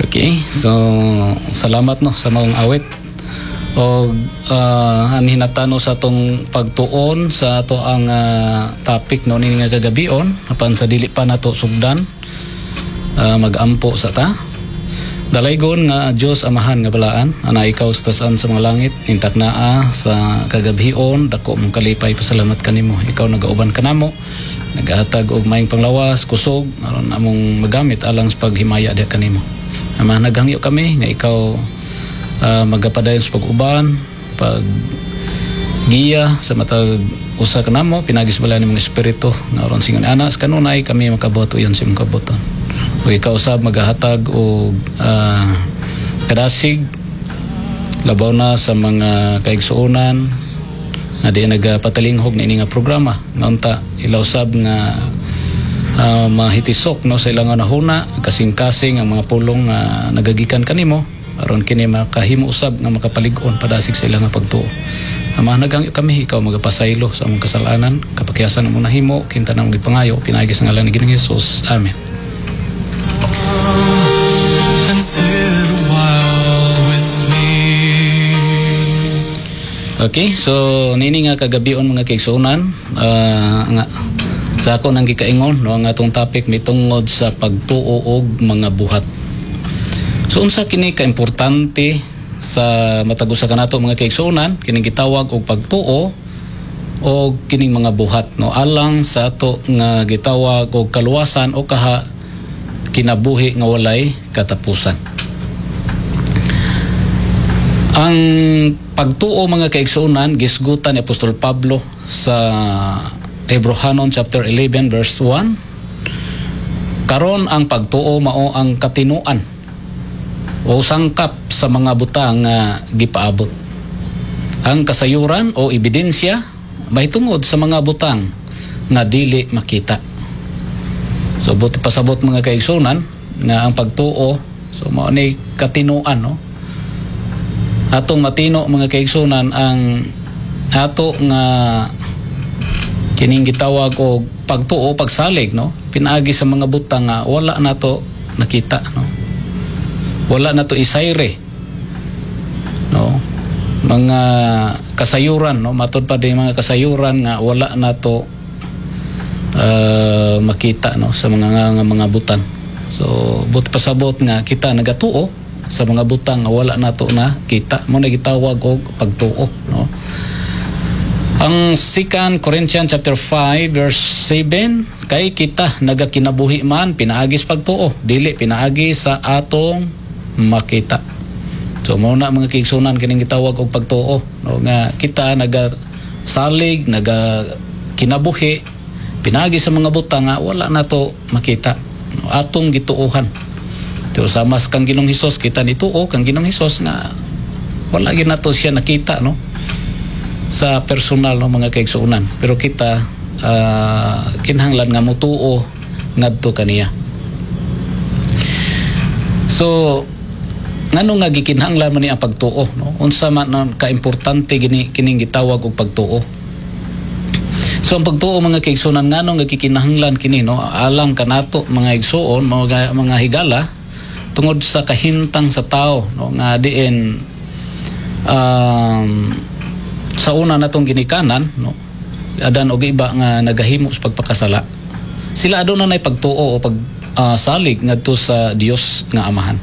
Okay, so salamat, no, sa maong awit. O anhin natano sa atong pagtuon sa ato ang topic, no, nini nga kagabion. Apan sa dili pa nato sugdan, magampo sa ta. Dalaygon nga Dios Amahan nga balaan, ana ikaw sa tasan sa mga langit, intak naa sa kagabhion, dako mong kalipay, pasalamat kanimo. Ikaw nagauban kanamo, nagahatag og maayong panglawas, kusog aron among magamit alang sa paghimaya diha kanimo. Ama, naghangyo kami nga ikaw magapadayon sa pag-uban, pag giya sa matag usa kanamo pinaagi sa balaan nimong espiritu nga aron singon ana sa kanunay kami makabuhat uyon sa imong kabubut-on. Ug ikaw usab magahatag og kadasig, labaw na sa mga kaigsuonan nga di nagapatalinghog niini nga programa, nga unta ila usab nga mahitisok, no, sa ilang hunahuna, kasing-kasing ang mga pulong nga nagagikan kanimo aron kini makahimo usab nga makapalig-on padasig sa ilang nga pagtuo. Ama, naghangyo kami ikaw magapasaylo sa among kasalanan, kapakyasan among nahimo, kinta namong gipangayo pinaagi sa ngalan ni Ginoong Hesus. Amen. And sit a while with me. Okay, so nini nga kagabion, mga kaigsuonan, nga sa ako nang gikaingon, no, ang atong topic mitungod sa pagtuo og mga buhat. So unsa kini kaimportante sa matag usa kanato, mga kaigsuonan, kining gitawag og pagtuo o kining mga buhat, no, alang sa ato nga gitawag og kaluwasan o kaha kinabuhi nga walay katapusan? Ang pagtuo, mga kaigsuonan, gisgutan ni Apostol Pablo sa Hebrohanon chapter 11 verse 1. Karon ang pagtuo mao ang katinuan o sangkap sa mga butang nga gipaabot. Ang kasayuran o ebidensya mahitungod sa mga butang nga dili makita. So buot pasabot, mga kaigsuonan, nga ang pagtuo, so mao ni katinuan, no? Atong matino, mga kaigsuonan, ang ato nga kining gitawag og pagtuo, pagsalig, no, pinaagi sa mga butang nga wala nato nakita, no, wala nato isayre, no, mga kasayuran, no, matod pa din mga kasayuran nga wala nato makita, no, sa mga nga mga butang. So buot pasabot nga kita nagatuo sa mga butang nga wala nato na kita, mao na gitawag og pagtuo, no. Ang 2 Corinthians chapter 5 verse 7, kay kita nagakinabuhi man pinaagi sa pagtuo, dili pinaagi sa atong makita. So mao na, mga kaigsuonan, kining gitawag og pagtuo, no, nga kita nagasalig, naga kinabuhi pinaagi sa mga butang nga wala nato makita, no, atong gituohan. So sama sa kang Ginoong Hesus, kita nituo kang Ginoong Hesus nga wala gyud nato siya nakita, no, sa personal, no, mga kaigsuonan, pero kita kinahanglan nga mutuo ngadto kaniya. So ngano nga gikinahanglan man ni ang pagtuo, no? Unsa man ang kaimportante gini kining gitawag og pagtuo? So ang pagtuo, mga kaigsuonan, ngano nga gikinahanglan kini, no, alang kanato, mga igsuon, mga higala? Tungod sa kahintang sa tao, no, nga diin sa una natong ginikanan, no, Adan og iba nga nagahimo sa pagpakasala, sila aduna nay pagtuo o pag salig ngadto sa Dios nga Amahan.